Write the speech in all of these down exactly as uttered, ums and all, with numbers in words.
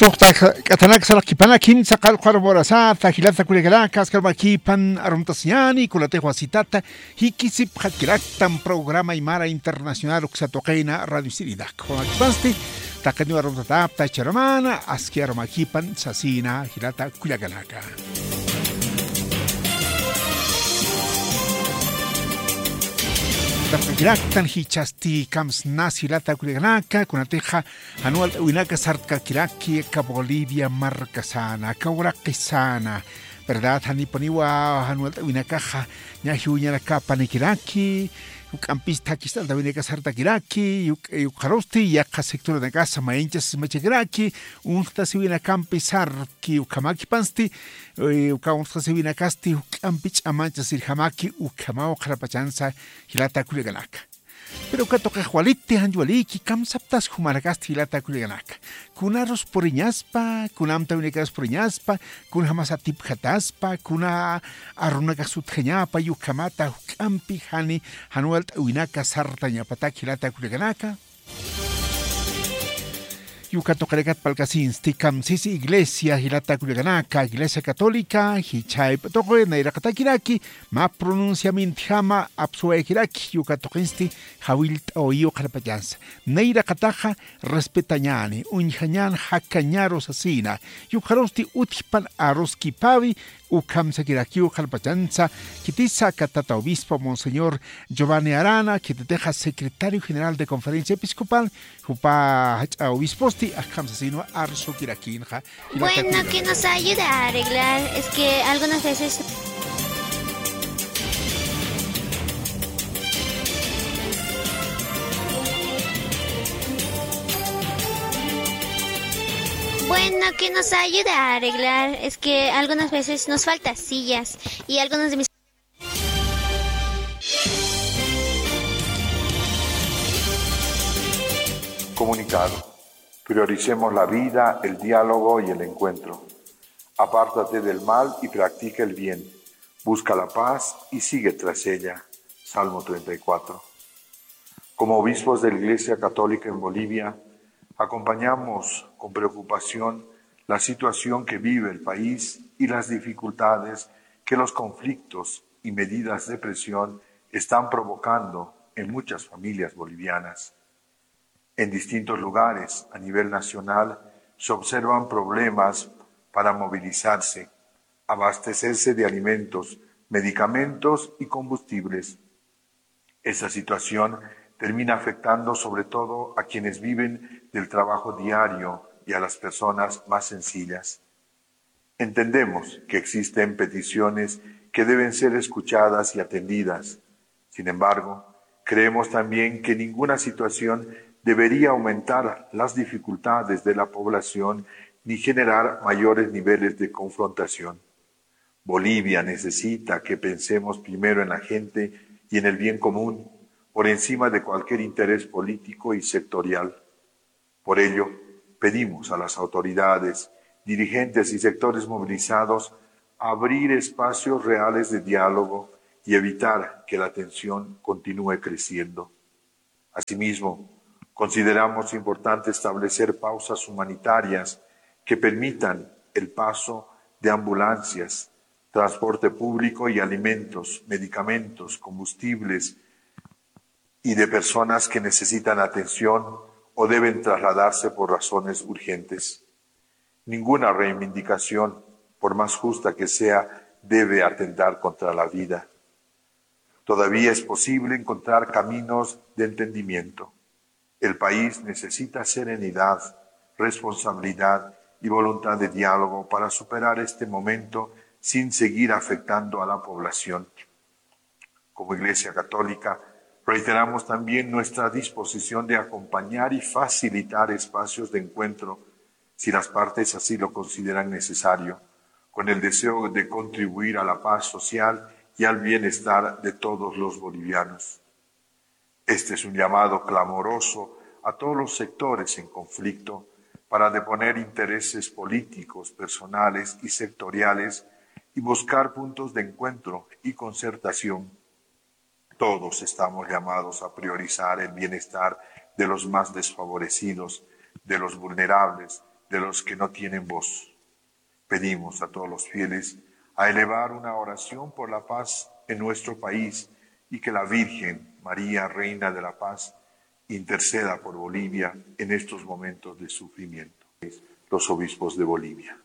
Suxta k'atanak saraqkipanak, jimsa qallqu arum urasata, jilata kullakanaka, askar makipan arumtasiñäni, kunatix wasitata jikisipxatkiraktan programa Aymara Internacional uksa tuqina Radio Sirinak. Jumakipansti, taqiniw arumtatapta charamana, aski arumakipan sasina, jilata kullakanaka. Taqkiraktan jichhasti kamsnas jilata kullakanaka, kunatixa jan walt'äwinaka sartkakiraki, aka Bolivia markasana, aka uraqisana, ¿verdad? Janipuniwa jan walt'äwinakaxa, ña jiwuñanakapanikiraki, juk'ampis thakist'antawinaka sartakiraki, yuk-, yukxarusti, yaqha sectoranakasa mayinchas sismachakiraki, uñstasiwinakampi sartki, ukhamakipansti, eh, uka uñstasiwinakasti, juk'ampi ch'amanchasirjamaki, ukhamaw qharapachansa, jilata kullakanaka. Pero uka tuqix waliti, janch waliki, kamsaptas jumanakasti jilata kullakanaka. Kunarus puriñaspa, kuna amtawinakarus puriñaspa, kunjamas atipjataspa, kuna arunakax utjañapa, ukhamata juk'ampi jani, jan walt'äwinaka sartañapatak jilata kullakanaka. Uka tuqinakat parlkasinsti kamsisa iglesia jilata kullakanaka, Iglesia Católica, jichhayp'u tuqi, nayraqatakiraki, mä pronunciamientjama apsuwayakiraki, uka tuqinsti jawillt'awayiw qharpachansa. Nayraqataxa respetañäni, uñjañän jakañaru sasina, yukxarusti utjpan aruskipawi, ukhamsakirakiw qharpachansa, khitisa aka tata obispo Monseñor Giovanni Arana, khititixa secretario general de Conferencia Episcopal, jupa jach'a obisposti, akhamsasinwa arsukirakïnxa. Bueno, que nos ayuda a arreglar, es que algunas veces Bueno, que nos ayuda a arreglar, es que algunas veces nos falta sillas y algunos de mis Comunicado. Prioricemos la vida, el diálogo y el encuentro. Apártate del mal y practica el bien. Busca la paz y sigue tras ella. Salmo treinta y cuatro. Como obispos de la Iglesia Católica en Bolivia, acompañamos con preocupación la situación que vive el país y las dificultades que los conflictos y medidas de presión están provocando en muchas familias bolivianas. En distintos lugares a nivel nacional se observan problemas para movilizarse, abastecerse de alimentos, medicamentos y combustibles. Esa situación termina afectando sobre todo a quienes viven del trabajo diario y a las personas más sencillas. Entendemos que existen peticiones que deben ser escuchadas y atendidas. Sin embargo, creemos también que ninguna situación debería aumentar las dificultades de la población ni generar mayores niveles de confrontación. Bolivia necesita que pensemos primero en la gente y en el bien común, por encima de cualquier interés político y sectorial. Por ello, pedimos a las autoridades, dirigentes y sectores movilizados abrir espacios reales de diálogo y evitar que la tensión continúe creciendo. Asimismo, consideramos importante establecer pausas humanitarias que permitan el paso de ambulancias, transporte público y alimentos, medicamentos, combustibles y de personas que necesitan atención o deben trasladarse por razones urgentes. Ninguna reivindicación, por más justa que sea, debe atentar contra la vida. Todavía es posible encontrar caminos de entendimiento. El país necesita serenidad, responsabilidad y voluntad de diálogo para superar este momento sin seguir afectando a la población. Como Iglesia Católica, reiteramos también nuestra disposición de acompañar y facilitar espacios de encuentro, si las partes así lo consideran necesario, con el deseo de contribuir a la paz social y al bienestar de todos los bolivianos. Este es un llamado clamoroso a todos los sectores en conflicto para deponer intereses políticos, personales y sectoriales y buscar puntos de encuentro y concertación. Todos estamos llamados a priorizar el bienestar de los más desfavorecidos, de los vulnerables, de los que no tienen voz. Pedimos a todos los fieles a elevar una oración por la paz en nuestro país y que la Virgen María, Reina de la Paz, interceda por Bolivia en estos momentos de sufrimiento. Los obispos de Bolivia.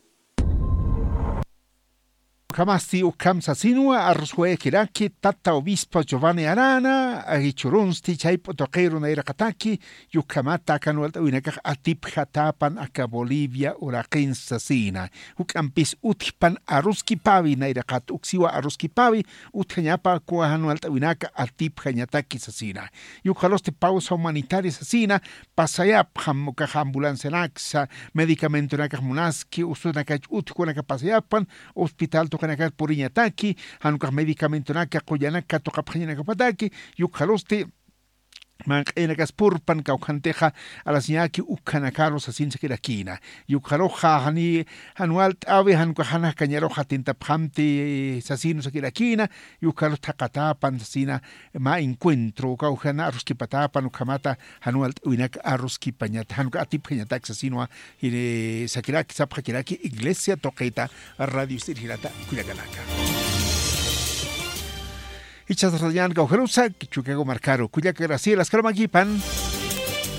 Ukhamasti ukham sasinwa arruswayakiraki tata obispo Giovanni Arana, agichurunsti chayp'u tuqiru nayraqataki, yukhamata aka nuwalt'awinakax atipjatäpan aka Bolivia uraqinsa sasina. Juk'ampis utjpan aruskipawi nayraqat uksiwa aruskipawi, utjañapa kuwa jan nuwalt'awinaka atipjañataki sasina. Yukxarusti pausa humanitaria sasina, pasayapxam ukax ambulancianaksa, medicamentonakax munaski, usunakach utjkunaka pasayapxan, hospital tuqinakar puriñataki, jan ukax medicamentonaka qullanaka tuqapxañanakapataki, yukxarusti manq'inakas purpan kawkhantixa alasiñaki ukhanakaru sasin sakirakïna. Yukxaruxa jani jan walt'äwi jan ukax jan jakañaruxa atintapxamti sasinu sakirakïna, yukxarux thaqatäpan sasina mä encuentro, uka ukhana arruskipatäpan ukhamata jan walt'äwinak arruskipañata, jan uka atipjañatak sasinwa, jiri sakiraki, sapxakiraki iglesia tuqita radio sirjirata kullakanaka. Jichhas rayañan kawkharusa, Chicago markaru, kullaka Graciela, askharumakipan.